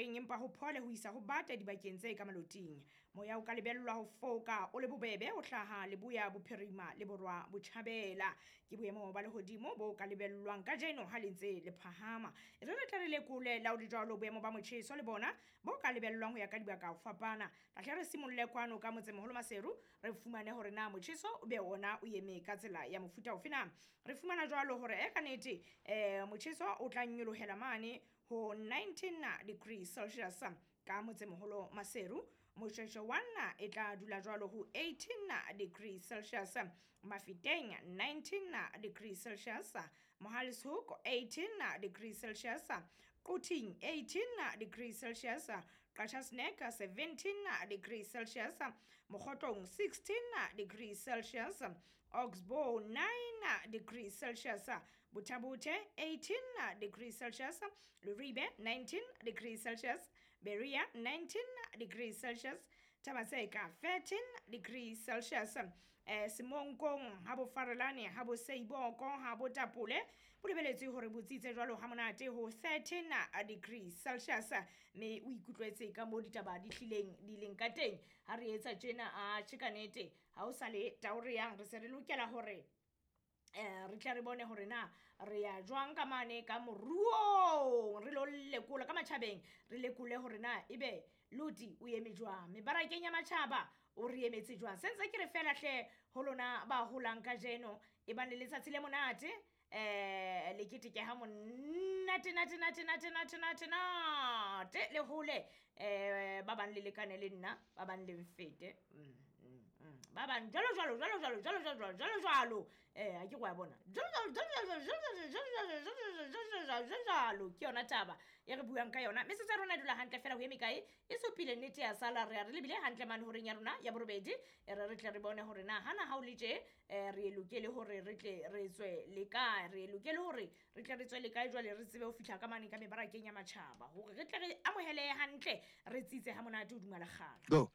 bohareng empa ho phole ho isa ho bata dibakeng tse ka maloting. Moya o ka lebellwa ho foka o le bobebe ho hlaha leboya bophirima le borwa botjhabela. Ke boemo ba lehodimo bo ka lebellwang kajeno ha le ntse le phahama. E re re tle re lekole la ho le jwalo boemo ba motjheso le bona bo ka lebellwang ho ya ka dibaka ho fapana. Tla hle re simolle kwano ka motsemoholo Maseru re fumane hore na motjheso o be ona o eme ka tsela ya mofuta ofe na. Re fumana jwalo hore e ka nete motjheso o tla nyolohela mane ho 19 degrees Celsius ka motsemoholo Maseru. Moshweshwe 1 e tla dula jwalo ho 18 degrees Celsius, Mafeteng 19 degrees Celsius, Mohale's 18 degrees Celsius, Quthing 18 degrees Celsius, Qacha's Nek 17 degrees Celsius, Mokhotlong 16 degrees Celsius, Oxbow 9 degrees Celsius, Butha-Buthe 18 degrees Celsius, Leribe 19 degrees Celsius, Berea 19 degrees Celsius, Thaba-Tseka 13 degrees Celsius, Semonkong ha bo Farelane ha bo Seiboko ha bo Tapole bo lebeletswe hore bo tsitse jwalo ha monate ho 13 degrees Celsius. Mme o ikutlwetse ka mo ditaba di hlileng di leng ka teng ha re etsa tjena. A tjhe, ka nete ha o sa le tao re yang re se re lokela hore re tle re bone hore na re ya jwang ka mane ka moruong, re lo lekola ka matjhabeng, re lekole hore na ebe loti o eme jwang mebarakeng ya matjhaba, o re emetse jwang. Se ntse ke re fela hle ho lona ba holang kajeno, e bang le letsatsi le monate, le keteke ha monate nate nate nate nate nate nate le hole, ba bang le lekane le nna, ba bang le mfete, ba bang jwalo jwalo jwalo jwalo jwalo jwalo jwalo jwalo, ha ke go ya bona jwalo jwalo jwalo jwalo jwalo jwalo jwalo jwalo jwalo jwalo. Ke yona taba e re buang ka yona. Metsotso ya rona e dula hantle fela ho eme kae e supile nnete ya sala re ya re lebile hantle mane horeng ya rona ya borobedi. E re re tle re bone hore na hana ha o le tje, re e lokele hore re tle re tswe le kae, re e lokele hore re tle re tswe le kae jwale re tsebe ho fihla ka mane ka mebarakeng ya matjhaba hore re tle re amohele hantle, re tsitse ha monate hodima lekgala. Go.